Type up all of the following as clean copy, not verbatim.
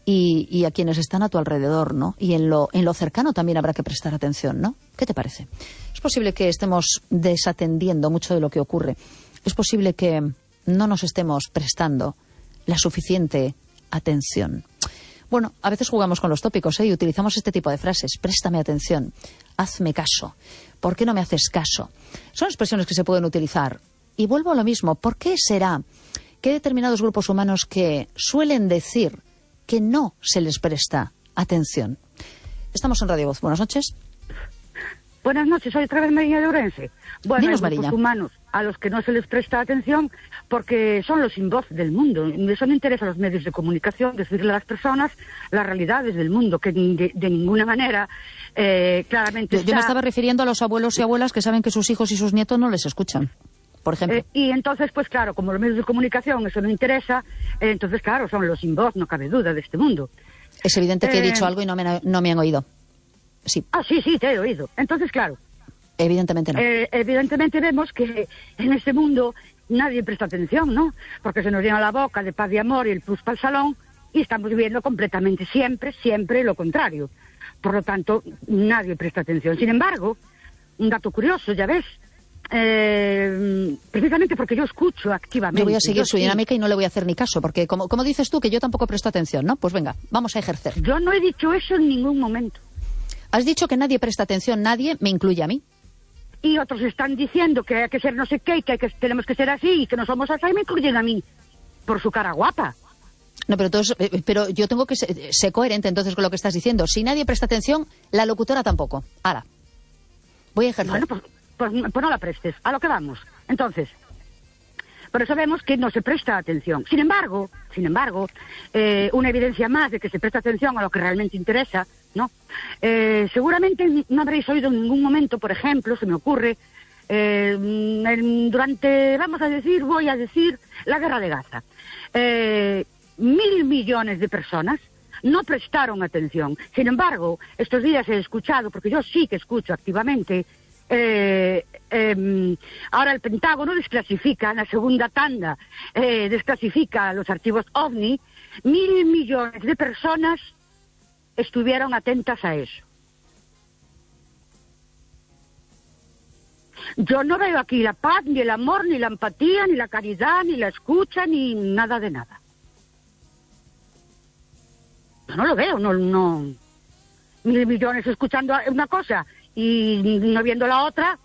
y a quienes están a tu alrededor, ¿no? Y en lo cercano también habrá que prestar atención, ¿no? ¿Qué te parece? Es posible que estemos desatendiendo mucho de lo que ocurre. Es posible que no nos estemos prestando la suficiente atención. Bueno, a veces jugamos con los tópicos, y utilizamos este tipo de frases. Préstame atención, hazme caso, ¿por qué no me haces caso? Son expresiones que se pueden utilizar. Y vuelvo a lo mismo, ¿por qué será que hay determinados grupos humanos que suelen decir que no se les presta atención? Estamos en Radio Voz. Buenas noches. Buenas noches, soy otra vez Mariña de Ourense. Bueno, Dinos, hay grupos humanos a los que no se les presta atención porque son los sin voz del mundo. Eso no interesa a los medios de comunicación decirle a las personas las realidades del mundo, que de ninguna manera claramente... Yo me estaba refiriendo a los abuelos y abuelas que saben que sus hijos y sus nietos no les escuchan, por ejemplo. Y entonces, pues claro, como los medios de comunicación eso no interesa, entonces claro, son los sin voz, no cabe duda, de este mundo. Es evidente que he dicho algo y no me han oído. Sí. Ah, sí, te he oído. Entonces, claro. Evidentemente no. Evidentemente vemos que en este mundo nadie presta atención, ¿no? Porque se nos llena la boca de paz y amor y el plus para el salón y estamos viviendo completamente siempre lo contrario. Por lo tanto, nadie presta atención. Sin embargo, un dato curioso, ya ves, precisamente porque yo escucho activamente. Yo voy a seguir su dinámica y no le voy a hacer ni caso, porque como dices tú, que yo tampoco presto atención, ¿no? Pues venga, vamos a ejercer. Yo no he dicho eso en ningún momento. Has dicho que nadie presta atención, nadie me incluye a mí. Y otros están diciendo que hay que ser no sé qué y que tenemos que ser así y que no somos así y me incluyen a mí por su cara guapa. No, pero yo tengo que ser coherente entonces con lo que estás diciendo. Si nadie presta atención, la locutora tampoco. Ahora, voy a ejercer. Bueno, pues no la prestes. A lo que vamos. Entonces, por eso vemos que no se presta atención. Sin embargo, una evidencia más de que se presta atención a lo que realmente interesa, ¿no? Seguramente no habréis oído en ningún momento, por ejemplo, se me ocurre, durante, voy a decir, la guerra de Gaza. 1.000 millones de personas no prestaron atención. Sin embargo, estos días he escuchado, porque yo sí que escucho activamente, ahora el Pentágono desclasifica en la segunda tanda, desclasifica los archivos OVNI. 1.000 millones de personas estuvieron atentas a eso. Yo no veo aquí la paz, ni el amor, ni la empatía, ni la caridad, ni la escucha, ni nada de nada. Yo no lo veo, no. 1.000 millones escuchando una cosa y no viendo la otra,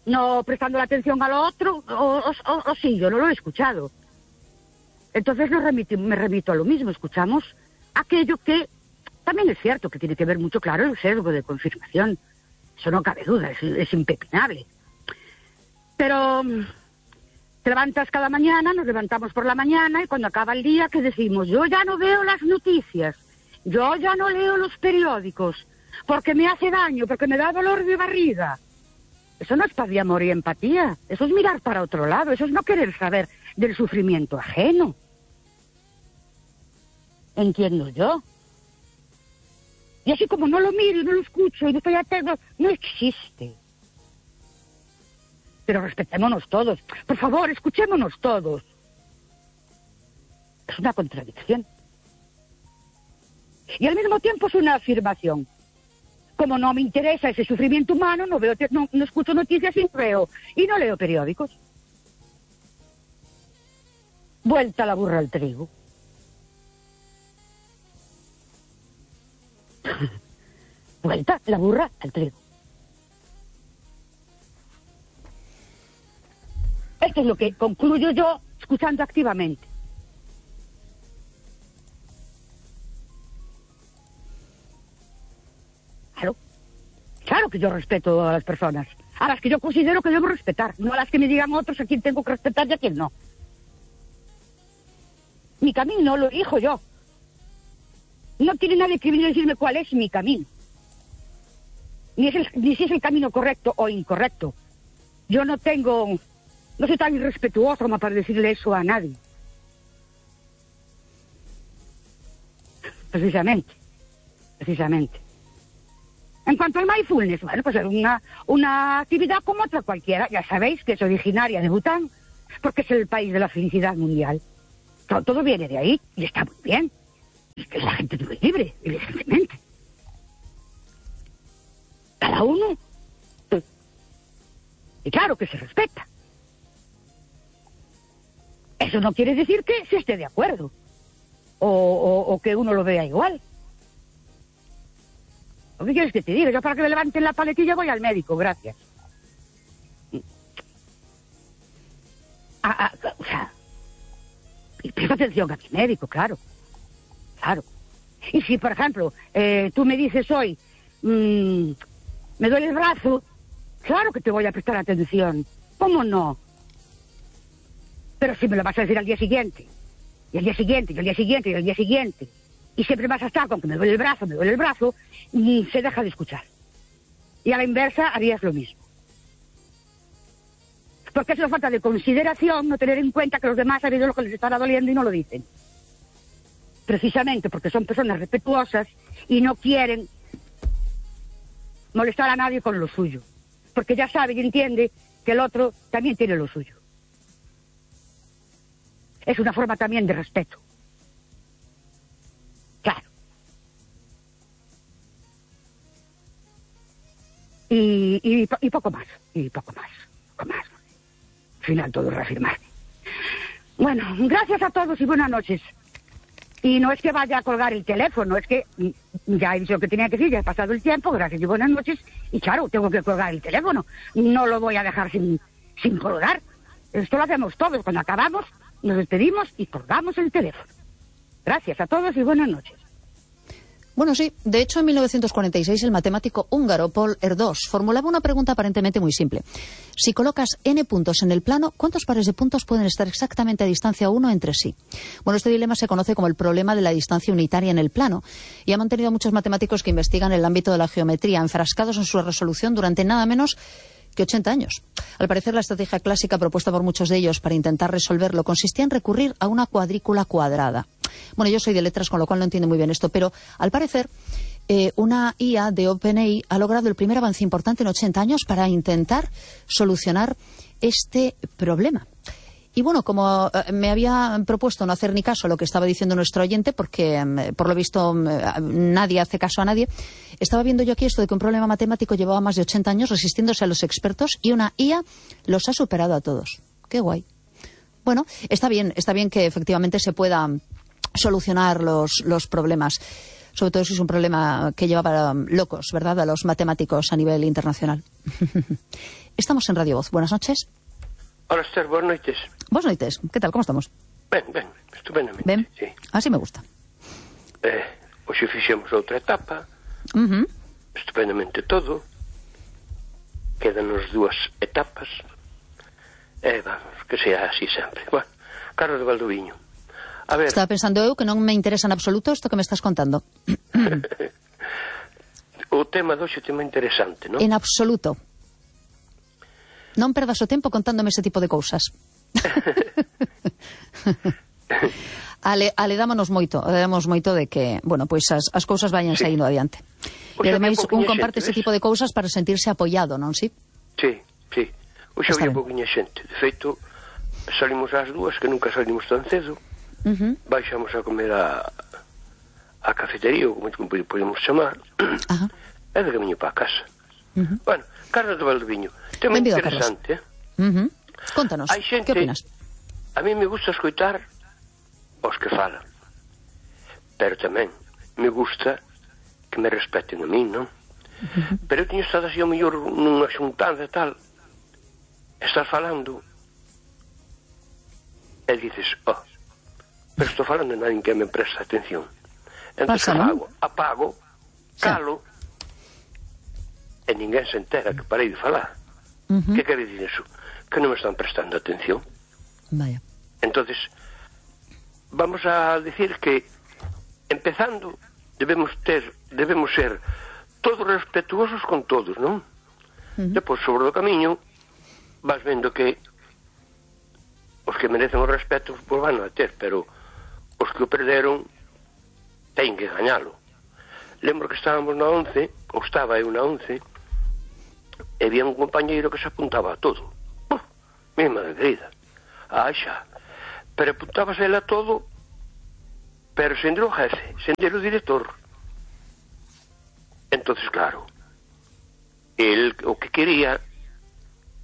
no prestando la atención a lo otro, o sí, yo no lo he escuchado. Entonces me remito a lo mismo, escuchamos aquello que también es cierto que tiene que ver mucho, claro, el sesgo de confirmación. Eso no cabe duda, es impepinable. Pero te levantas cada mañana, nos levantamos por la mañana y cuando acaba el día, ¿qué decimos? Yo ya no veo las noticias, yo ya no leo los periódicos, porque me hace daño, porque me da dolor de barriga. Eso no es paz y amor y empatía, eso es mirar para otro lado, eso es no querer saber del sufrimiento ajeno. Entiendo yo. Y así como no lo miro y no lo escucho y no estoy atento, no existe. Pero respetémonos todos. Por favor, escuchémonos todos. Es una contradicción. Y al mismo tiempo es una afirmación. Como no me interesa ese sufrimiento humano, no escucho noticias y no leo periódicos. Vuelta la burra al trigo. Vuelta la burra al trigo. Esto es lo que concluyo yo escuchando activamente. Claro que yo respeto a las personas, a las que yo considero que debo respetar, no a las que me digan otros a quién tengo que respetar y a quién no. Mi camino lo elijo yo. No tiene nadie que venir a decirme cuál es mi camino. Ni si es el camino correcto o incorrecto. Yo no soy tan irrespetuoso como para decirle eso a nadie. Precisamente. En cuanto al mindfulness, bueno, pues es una actividad como otra cualquiera. Ya sabéis que es originaria de Bután, porque es el país de la felicidad mundial. Todo viene de ahí y está muy bien. Es que la gente es muy libre, evidentemente. Cada uno. Y claro que se respeta. Eso no quiere decir que se esté de acuerdo. O que uno lo vea igual. ¿O qué quieres que te diga? Yo para que me levanten la paletilla voy al médico, gracias. O sea, y presta atención a mi médico, claro. Claro. Y si, por ejemplo, tú me dices hoy, me duele el brazo, claro que te voy a prestar atención. ¿Cómo no? Pero si me lo vas a decir al día siguiente, y al día siguiente, y al día siguiente, y al día siguiente, y siempre vas a estar con que me duele el brazo, y se deja de escuchar. Y a la inversa harías lo mismo. Porque es una falta de consideración no tener en cuenta que los demás han oído lo que les estará doliendo y no lo dicen. Precisamente porque son personas respetuosas y no quieren molestar a nadie con lo suyo. Porque ya sabe y entiende que el otro también tiene lo suyo. Es una forma también de respeto. Claro. Y poco más. Y poco más. Poco más. Al final todo reafirmarme. Bueno, gracias a todos y buenas noches. Y no es que vaya a colgar el teléfono, es que ya he dicho lo que tenía que decir, ya he pasado el tiempo, gracias y buenas noches. Y claro, tengo que colgar el teléfono. No lo voy a dejar sin colgar. Esto lo hacemos todos. Cuando acabamos, nos despedimos y colgamos el teléfono. Gracias a todos y buenas noches. Bueno, sí. De hecho, en 1946 el matemático húngaro Paul Erdős formulaba una pregunta aparentemente muy simple. Si colocas n puntos en el plano, ¿cuántos pares de puntos pueden estar exactamente a distancia uno entre sí? Bueno, este dilema se conoce como el problema de la distancia unitaria en el plano y ha mantenido a muchos matemáticos que investigan el ámbito de la geometría enfrascados en su resolución durante nada menos que 80 años. Al parecer, la estrategia clásica propuesta por muchos de ellos para intentar resolverlo consistía en recurrir a una cuadrícula cuadrada. Bueno, yo soy de letras, con lo cual no entiendo muy bien esto, pero al parecer una IA de OpenAI ha logrado el primer avance importante en 80 años para intentar solucionar este problema. Y bueno, como me había propuesto no hacer ni caso a lo que estaba diciendo nuestro oyente, porque por lo visto nadie hace caso a nadie, estaba viendo yo aquí esto de que un problema matemático llevaba más de 80 años resistiéndose a los expertos y una IA los ha superado a todos. ¡Qué guay! Bueno, está bien que efectivamente se pueda solucionar los problemas, sobre todo si es un problema que lleva para locos, ¿verdad?, a los matemáticos a nivel internacional. Estamos en Radio Voz. Buenas noches. Hola, Esther, buenas noches. Buenas noches. ¿Qué tal? ¿Cómo estamos? Ben, estupendamente. Ben? Sí. Así me gusta. Hoxe fixemos outra etapa. Estupendamente todo. Quédanos 2 etapas. Vamos, que sea así sempre. Bueno, Carlos de Valdoviño. A ver. Estaba pensando eu que non me interesa en absoluto isto que me estás contando. O tema doxe é un tema interesante, non? En absoluto. Non perdas o tempo contándome ese tipo de cousas. Aledámonos moito de que, bueno, pois as cousas vayan saindo adiante. E ademais un comparte ese tipo de cousas para sentirse apoiado, non si? Sí. Hoxe había pouquinha xente. De feito, salimos ás 2, que nunca salimos tan cedo. Baixamos a comer a cafetería, ou como podemos chamar. E de camiño para a casa. Bueno, Carlos de Valdoviño, tema interesante. Contanos, que opinas? A mí me gusta escoitar os que falan, pero tamén me gusta que me respeten a mí, non? Pero eu teño estado así ao mellor nunha xuntanza e tal, estás falando e dices, pero estou falando e nadie que me presta atención. Entón, que fago? Apago, calo, e ninguén se entera que parei de falar. Que quere dicir eso? Que non me están prestando atención. Vaya. Entonces, vamos a decir que empezando debemos ser todos respetuosos con todos, non? Depois, sobre o camiño, vas vendo que os que merecen o respeto pois van a ter, pero os que o perderon teñen que gañalo. Lembro que estábamos na 11, ou estaba eu na 11, e había un compañeiro que se apuntaba a todo. Mi madre querida, xa, pero apuntábase ele a todo pero sen o jefe, sen o director. Entonces, claro, el o que quería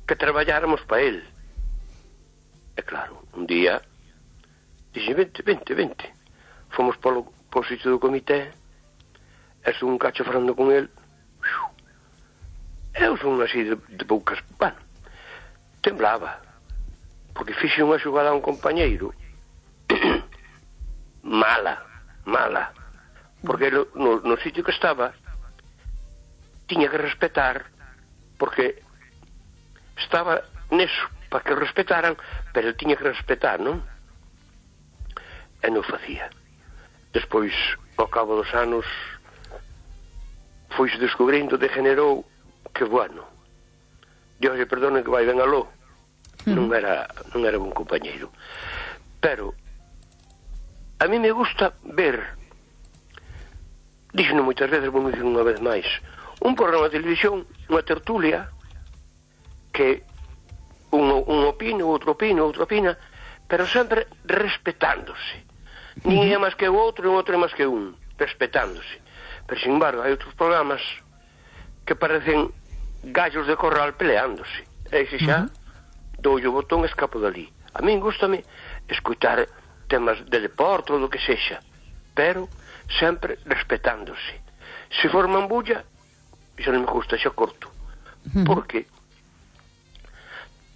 que traballáramos para él. E claro, un día dixe, vente. Fomos polo sitio do comité, e son un cacho falando con el. Eu son así de poucas... Bueno, temblaba, porque fixe unha xogada a un compañeiro mala, porque no sitio que estaba tiña que respetar, porque estaba neso para que respetaran, pero tiña que respetar, non? E non facía. Despois, ao cabo dos anos, foise descubrindo, degenerou, que bueno, Dios lle perdone que vai ben aló, non era bon compañeiro. Pero a mí me gusta ver, díxeno moitas veces, vou dicir unha vez máis, un programa de televisión, unha tertulia, que un opina, outro opina, pero sempre respetándose. Ninguén é máis que o outro e o outro é máis que un, respetándose. Pero, sin embargo, hai outros programas que parecen gallos de corral peleándose. E se xa, doulle o botón e escapo dali. A min gústame escutar temas de deporte ou do que sexa, pero sempre respetándose. Se forman bulla, xa non me gusta, xa corto. Porque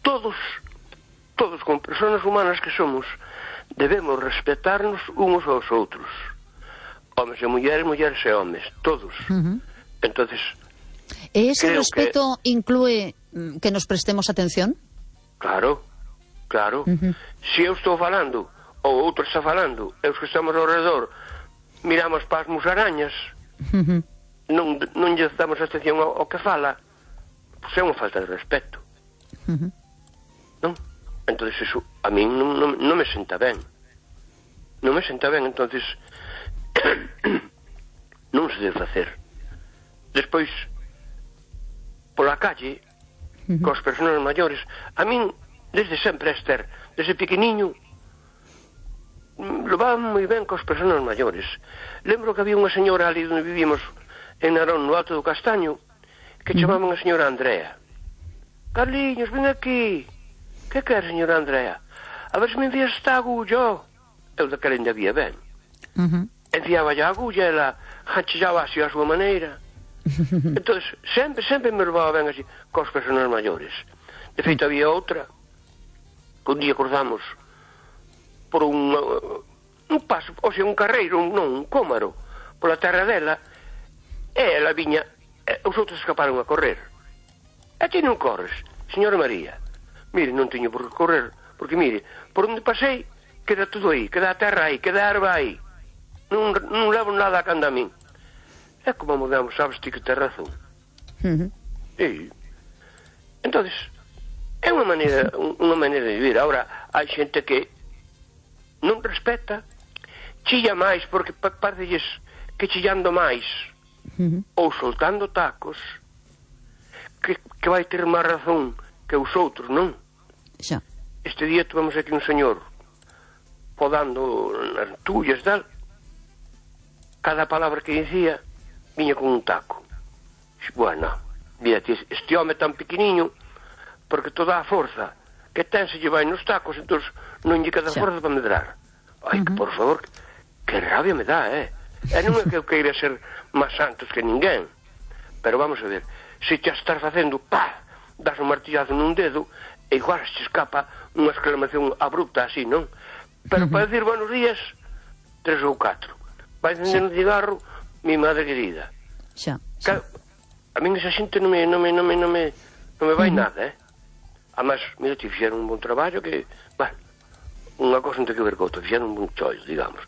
todos como personas humanas que somos, debemos respetarnos unos aos outros. Homes e mulleres, mulleres e homes, todos. Entonces, ¿e ese respeto inclúe que nos prestemos atención? Claro. Se eu estou falando, ou outro está falando, e os que estamos ao redor miramos para as musarañas, non lle damos atención ao que fala, pois é unha falta de respeto. Non? Entón, eso a mí non me senta ben. Entonces non se debe facer. Despois, pola calle, cos persoas maiores, a min, desde sempre, Esther, desde pequeniño, levaba moi ben cos persoas maiores. Lembro que había unha señora ali onde vivíamos, en Narón, no Alto do Castaño, que chamaban a señora Andrea. Carliños, ven aquí. Que quer, señora Andrea? A ver se me envías esta agulla. Eu daquela ainda había ben. Enviaba a agulla, ela hanchillaba así a súa maneira. Entón, sempre me levaba ben así cos persoas maiores. De feito, había outra que un día cruzamos por un paso, ou sea, un carreiro, un cómaro, pola terra dela, e ela viña, os outros escaparon a correr. E ti non corres, señora María? Mire, non teño por que correr, porque mire, por onde pasei, queda todo aí, queda a terra aí, queda a erva aí. Non levo nada a canda a min. É como mudamos, sabes ti que te razón. E entonces, é unha maneira de vivir. Ahora, hai xente que non respeta, chilla máis, porque parecelles que chillando máis, ou soltando tacos, que vai ter máis razón que os outros, non? Xa. Este día tuvemos aquí un señor podando nas tullas, tal. Cada palabra que dicía viña con un taco. Bueno, mira, este home tan pequeniño, porque toda a forza que ten se lle vai nos tacos, entón non lle queda forza para medrar. Ai, que por favor, que rabia me dá, E non é que eu queira ser máis santos que ninguén, pero vamos a ver, se te estás facendo, das un martillazo nun dedo, e igual se escapa unha exclamación abrupta así, non? Pero para decir buenos días, 3 ou 4. Vai encender un cigarro, mi madre querida. Xa. A min esa xente non me vai nada, Además, mira, te fixeron un bon traballo que, bueno, unha cosa non ten que ver con outra, fixeron un bon chollo, digamos.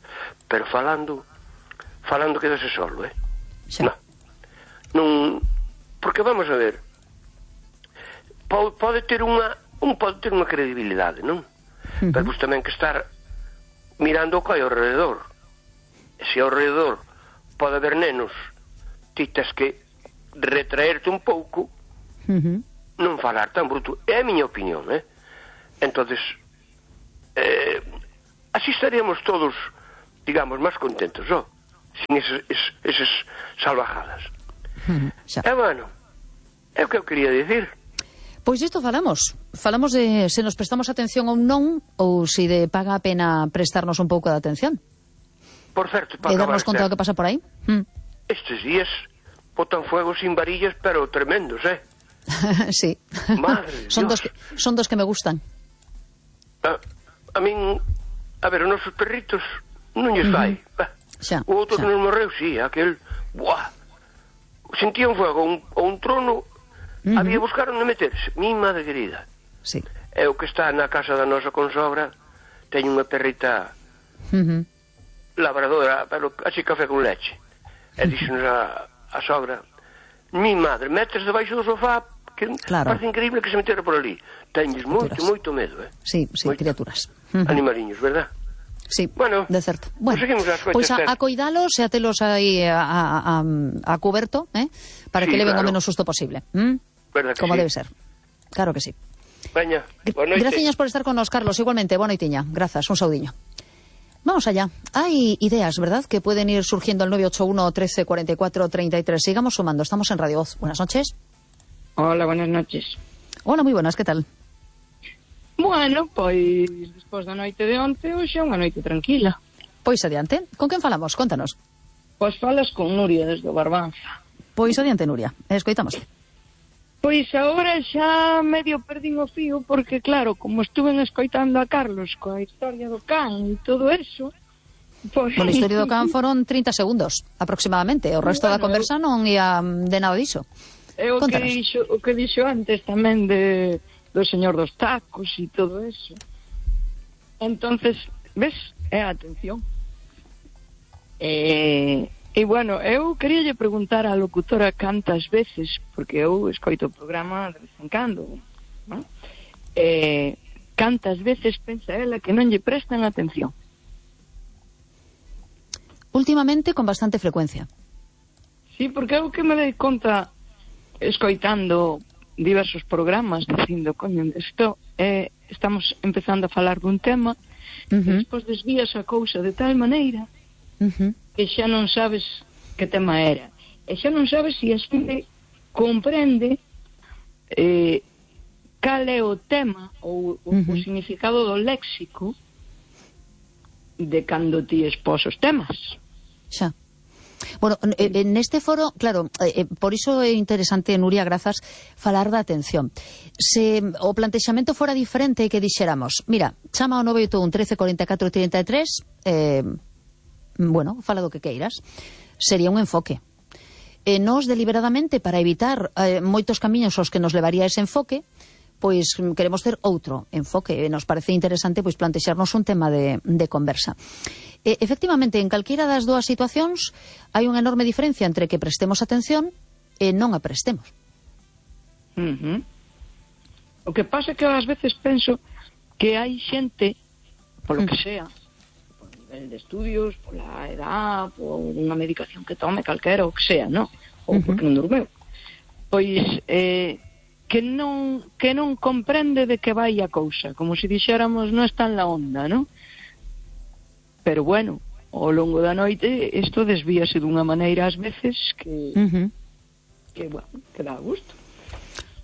Pero falando quedase solo, Xa. Non, porque vamos a ver, pode ter unha credibilidade, non? Pero pues tamén que estar mirando o que hai ao redor. E se ao redor pode haber nenos, ti tes que retraerte un pouco, non falar tan bruto. É a miña opinión, Entonces, así estaríamos todos digamos, máis contentos, sin esas salvajadas. E, bueno, é o que eu quería dicir. Pois isto falamos de se nos prestamos atención ou non, ou se de paga a pena prestarnos un pouco de atención. Por certo, para e darnos conta do que pasa por aí. Estes días botan fuego sin varillas, pero tremendos, Sí. Madre son Dios. Son dos que me gustan. A min, a ver, os nosos perritos non lles fai. O outro que nos morreu, sí, aquel, buah, sentía un fuego ou un trono. Había buscaron de meterse, mi madre querida. Sí. É o que está na casa da nosa consogra, teño unha perrita labradora, pero así café con leche. E dixenos a sogra, mi madre, metes debaixo do sofá, que parece increíble que se metera por ali. Teñes moito medo, Sí, criaturas. Animaliños, verdad? Sí, bueno, de certo. Bueno, pois a coidalos e a telos aí a cuberto, para que leven o menos susto posible. Como debe ser. Claro que sí. Veña, boa noite. Graciñas por estar con nos, Carlos. Igualmente, boa noitiña. Grazas, un saudiño. Vamos allá. Hay ideas, ¿verdad?, que pueden ir surgiendo al 981 13 44 33. Sigamos sumando. Estamos en Radio Voz. Buenas noches. Hola, buenas noches. Hola, moi buenas. Que tal? Bueno, pois despois da noite de onte, hoxe é unha noite tranquila. Pois adiante. Con quen falamos? Contanos. Pois falas con Nuria desde o Barbanza. Pois adiante, Nuria. Escoitamos. Pois agora xa medio perdín o fío porque, claro, como estuven escoitando a Carlos coa historia do can e todo eso, pois... Bueno, a historia do can foron 30 segundos, aproximadamente. O resto da conversa non ia de nada diso. É o que dixo antes tamén do señor dos tacos e todo eso. Entonces, ves, é a atención. E, bueno, eu queríalle preguntar á locutora cantas veces, porque eu escoito o programa de vez en cando, ¿no? Cantas veces pensa ela que non lle prestan atención? Últimamente, con bastante frecuencia. Sí, porque eu que me dei conta escoitando diversos programas dicindo, coño, isto estamos empezando a falar dun tema e despois desvías a cousa de tal maneira que xa non sabes que tema era. E xa non sabes se a xente comprende cal é o tema ou o significado do léxico de cando ti expós os temas. Xa. Bueno, neste foro, claro, por iso é interesante, Nuria, grazas, falar da atención. Se o plantexamento fora diferente e que dixéramos, mira, chama ao 981 13 44 33, bueno, fala do que queiras, sería un enfoque. Nós, deliberadamente, para evitar moitos camiños aos que nos levaría ese enfoque, pois queremos ter outro enfoque. Nos parece interesante pois plantexarnos un tema de conversa. Efectivamente, en calquera das dúas situacións hai unha enorme diferencia entre que prestemos atención e non a prestemos. O que pasa é que ás veces penso que hai xente, polo que sea, por nivel de estudios, pola edad, por unha medicación que tome calquera, o que sea, non? Ou porque non dormeu. Pois que non comprende de que vai a cousa, como se dixéramos non está en la onda, non? Pero bueno, ao longo da noite isto desvíase dunha maneira ás veces que bueno, que dá gusto.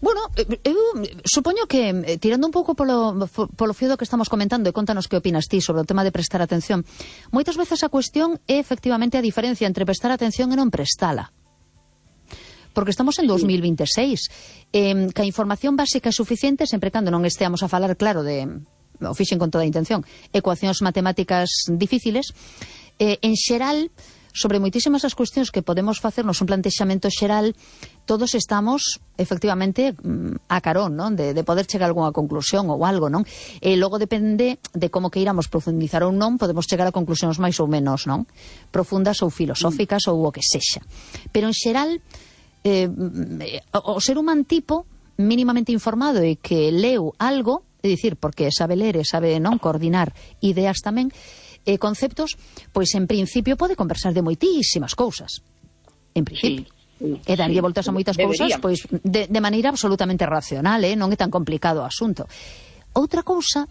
Bueno, eu supoño que, tirando un pouco polo fío do que estamos comentando, e contanos que opinas ti sobre o tema de prestar atención, moitas veces a cuestión é efectivamente a diferencia entre prestar atención e non prestala. Porque estamos en 2026, que a información básica é suficiente sempre cando non esteamos a falar, claro, de, o fixen con toda a intención, ecuacións matemáticas difíciles, en xeral, sobre moitísimas as cuestións que podemos facernos un plantexamento xeral, todos estamos, efectivamente, a carón, non? De poder chegar a algunha conclusión ou algo, non? E logo depende de como que iramos profundizar ou non, podemos chegar a conclusións máis ou menos, non? Profundas ou filosóficas ou o que sexa. Pero en xeral, o ser humano tipo mínimamente informado e que leu algo, é dicir, porque sabe ler e sabe non coordinar ideas tamén, conceptos, pois en principio pode conversar de moitísimas cousas. En principio. E daría voltas a moitas cousas, pois de maneira absolutamente racional, non é tan complicado o asunto. Outra cousa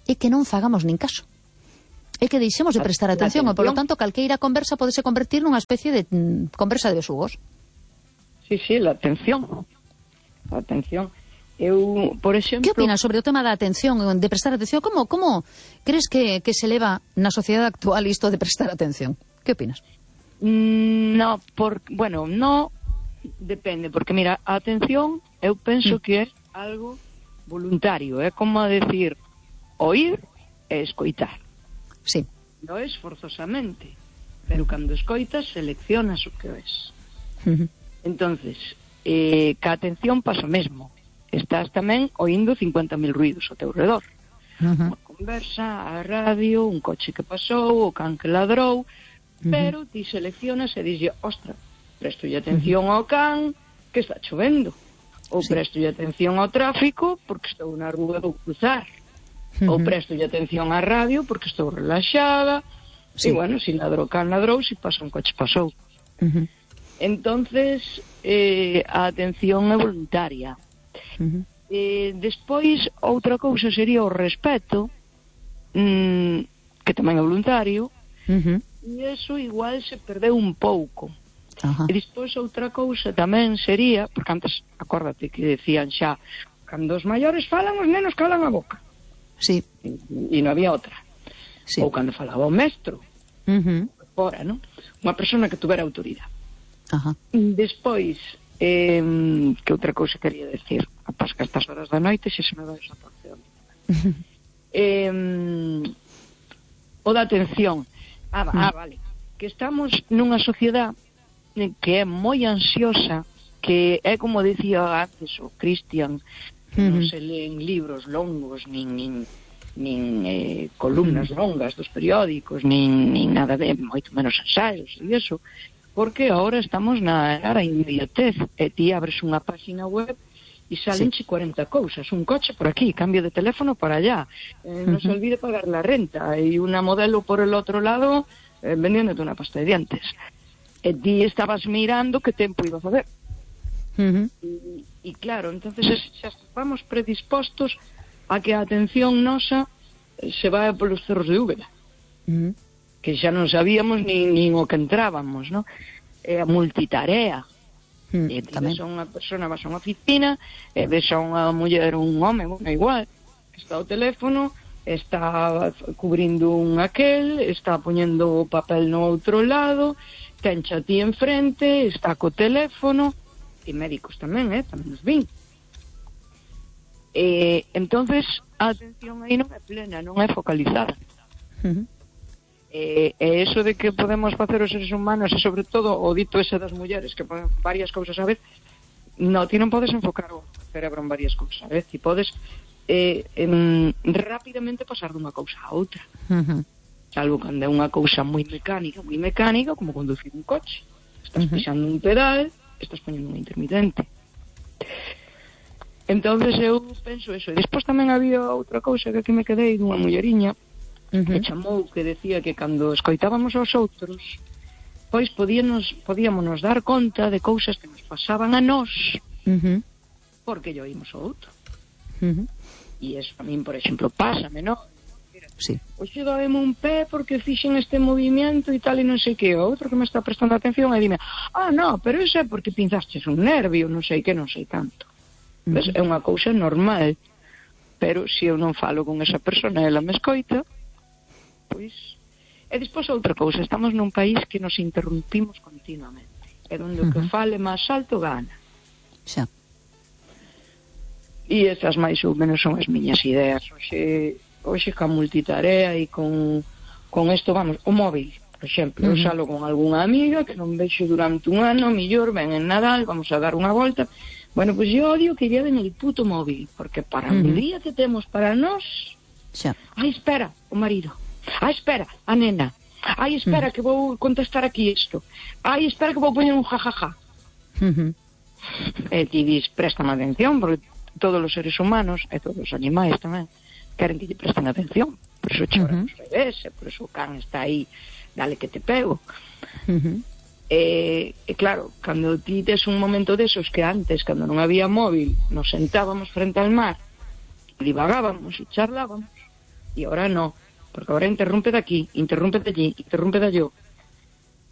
é que non fagamos nin caso. É que deixemos de prestar atención, e polo tanto calqueira conversa podese convertir nunha especie de conversa de besugos. Sí, la atención. Eu, por exemplo... Que opinas sobre o tema da atención, de prestar atención? Como crees que se eleva na sociedade actual isto de prestar atención? Que opinas? No, depende, porque mira, a atención eu penso que é algo voluntario, é como a decir oír e escoitar. Sí. Non é forzosamente, pero cando escoitas seleccionas o que es. Entonces, ca atención pasa o mesmo. Estás tamén oindo 50.000 ruidos ao teu redor. Unha conversa, a radio, un coche que pasou, o can que ladrou, pero ti seleccionas e dixes, ostra, prestolle atención ao can que está chovendo, ou prestolle atención ao tráfico porque estou na rúa do cruzar, ou prestolle atención á radio porque estou relaxada, e bueno, se ladrou can ladrou, se pasa un coche pasou. Entonces, a atención é voluntaria. Despois, outra cousa sería o respeto, que tamén é voluntario, e iso igual se perdeu un pouco. E despois outra cousa tamén sería, porque antes, acórdate que decían xa, cando os maiores falan, os nenos calan a boca. Sí. E non había outra. Sí. Ou cando falaba o mestro, fora, non? Unha persona que tuvera autoridade. Despois, que outra cousa quería decir, apás que a estas horas da noite se me vai esa porción. O da atención. Vale. Que estamos nunha sociedade que é moi ansiosa, que é como dicía antes o Cristian, que non se leen libros longos, nin columnas longas dos periódicos, nin nada de, moito menos ensaios e iso, porque agora estamos na era inmediatez, e ti abres unha página web e salenche 40 cousas, un coche por aquí, cambio de teléfono para allá, non se olvide pagar la renta, e unha modelo por el outro lado vendiéndote unha pasta de dientes. E ti estabas mirando que tempo iba a facer. E claro, entonces xa estamos predispostos a que a atención nosa se vai polos cerros de Úbeda. Que xa non sabíamos nin o que entrábamos, non? A multitarea. E ti ves a unha persona, vas a unha oficina, e ves a unha muller ou un home, bueno, igual, que está ao teléfono, está cubrindo un aquel, está poñendo o papel no outro lado, tencha a ti enfrente, está co teléfono, e médicos tamén, tamén nos vin. Entonces, a atención aí non é plena, non é focalizada. E eso de que podemos facer os seres humanos, e sobre todo o dito ese das mulleres que poden varias cousas a vez, ti non podes enfocar o cerebro en varias cousas a vez, ti podes rapidamente pasar dunha cousa a outra, salvo cando é unha cousa moi mecánica, como conducir un coche, estás pisando un pedal, estás poñendo un intermitente. Entonces eu penso eso. E despois tamén había outra cousa que aquí me quedei dunha mulleriña que chamou, que decía que cando escoitábamos aos outros, pois podíamos dar conta de cousas que nos pasaban a nós porque lle oímos ao outro. E eso a min, por exemplo, pásame, non? Sí. Oxe, doeme un pé porque fixen este movimento e tal e non sei que. O outro que me está prestando atención e dime, no, pero eso é porque pinzastes un nervio, non sei que, non sei tanto. Pues é unha cousa normal, pero se eu non falo con esa persona e ela me escoita, pois... E despois outra cousa, estamos nun país que nos interrumpimos continuamente, é onde o que fale máis alto gana. Xa. E esas máis ou menos son as miñas ideas. Hoxe ca multitarea e con isto, vamos, o móvil, por exemplo, eu salo con algunha amiga que non vexo durante un ano, millor, ven en Nadal, vamos a dar unha volta. Bueno, pues yo odio que lleven el puto móvil, porque para un día que temos para nós... Xa. Ai, espera, o marido. Ai, espera, a nena. Ai, espera, que vou contestar aquí isto. Ai, espera, que vou poñer un jajaja. E ti dis, préstame atención, porque todos os seres humanos, e todos os animais tamén, queren que lle presten atención. Por eso choran os bebés, por eso o can está aí, dale que te pego. E claro, cando ti tes un momento desos que antes, cando non había móvil, nos sentábamos frente al mar, divagábamos e charlábamos, e ahora non, porque ahora interrumpe de aquí, interrumpe de allí, interrumpe de allí.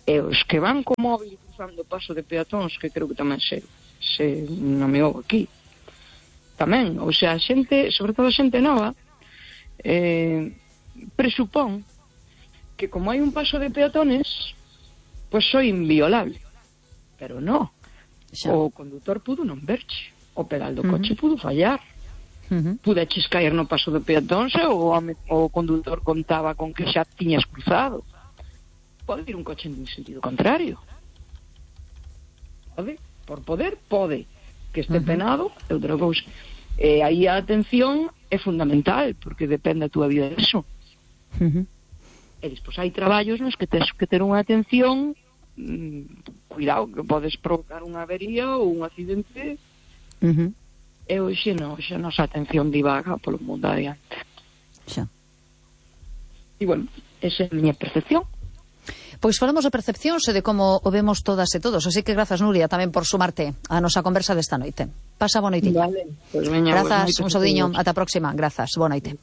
E os que van co móvil cruzando o paso de peatóns, que creo que tamén se nomeou aquí. Tamén, ou sea, a xente, sobre todo a xente nova, presupón que como hai un paso de peatones, pois soy inviolable. Pero no. O condutor pudo non verche. O pedal do coche pudo fallar. Pudeches caer no paso de peatóns e o condutor contaba con que xa tiñas cruzado. Pode ir un coche en sentido contrario. Pode. Por poder, pode. Que este penado é outra cousa. Aí a atención é fundamental, porque depende a túa vida disso. E despois hai traballos nos que tens que ter unha atención, cuidado, que podes provocar unha avería ou un accidente. E hoxe non, xa nosa atención divaga polo mundo adiante. Xa. E, bueno, esa é a miña percepción. Pois falamos de percepcións e de como o vemos todas e todos. Así que grazas, Nuria, tamén por sumarte a nosa conversa desta noite. Pasa boa noite. Vale, pues veña, grazas, un saudiño, ata a próxima. Grazas, boa noite.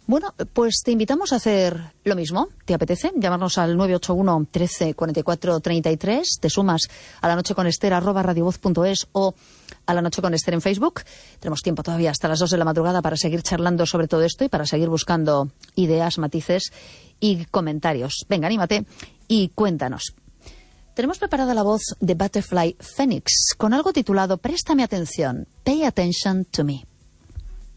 Bueno, pues te invitamos a hacer lo mismo. ¿Te apetece? Llamarnos al 981 13 44 33. Te sumas a La Noche con Ester @radiovoz.es o a La Noche con Ester en Facebook. Tenemos tiempo todavía hasta las 2 de la madrugada para seguir charlando sobre todo esto y para seguir buscando ideas, matices y comentarios. Venga, anímate y cuéntanos. Tenemos preparada la voz de Butterfly Phoenix con algo titulado Préstame atención, Pay Attention to Me.